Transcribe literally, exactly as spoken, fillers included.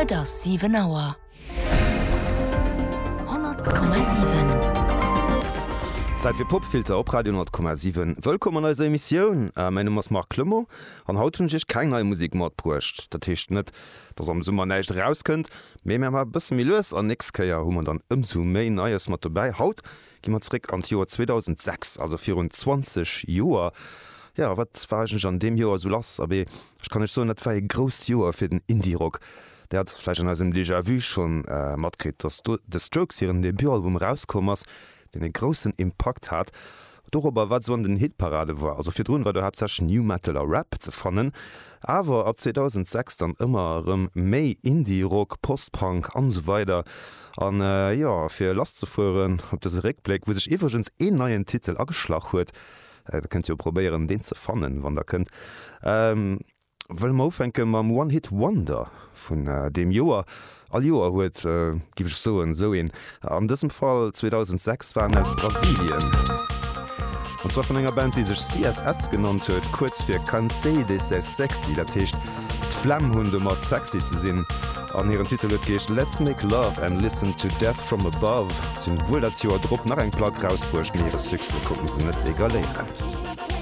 Et ass siwen Auer. Honnert Komma siwen. Zäit fir Popfilter op Radio honnert Komma siwen. Wëllkomm an eiser Emissioun. Mäin Numm ass Marc Clement an haut hunn ech iech keng nei Musek matbruecht. Dat heescht net, dass am Summer näischt erauskënnt, mee mir maache e bësse méi lues an nächst Kéier hu mer dann ëmsou méi Neies mat dobäi. Haut gi mer zeréck an d'Joer zweedausendsechs, also virun zwanzeg Joer. Jo, wat war eigentlech an deem Joer esou lass? Abee, ech kann iech soen, dat war ee grousst Joer fir den Indie-Rock. Där hat vläicht an eisem Déjà-Vu schonn matkritt, dass do The Strokes hiren Debutalbum erauskomm ass, deen e groussen Impakt hat dorobber, wat esou an den Hitparade war. Also virdrun war do haaptsächlech New Metal a Rap ze fannen, awer ab zweedausendsechs dann ëmmer erëm méi Indie-Rock, Post-Punk an esou weider. An jo, fir lasszefueren op dëse Réckbléck, wou sech iwwregens een neien Titel ageschlach huet, der kënnt jo probéieren deen ze fannen, wann der kënnt, wëlle mer ufänke mam One Hit Wonder vun deem Joer. All Joer huet, giff ech soen, esou een. An dësem Fall zweedausendsechs war en aus Brasilien. An zwar vun enger Band, déi sech C S S genannt huet, kuerz fir Cansei de Ser Sexy, dat heescht d'Flemm hunn domat sexy ze sinn. An hiren Titel huet geheescht Let's Make Love and Listen to Death From Above. Si hunn wuel dat Joer drop nach eng Plack rausbruecht, mee hire Succès konnten se net egaléieren.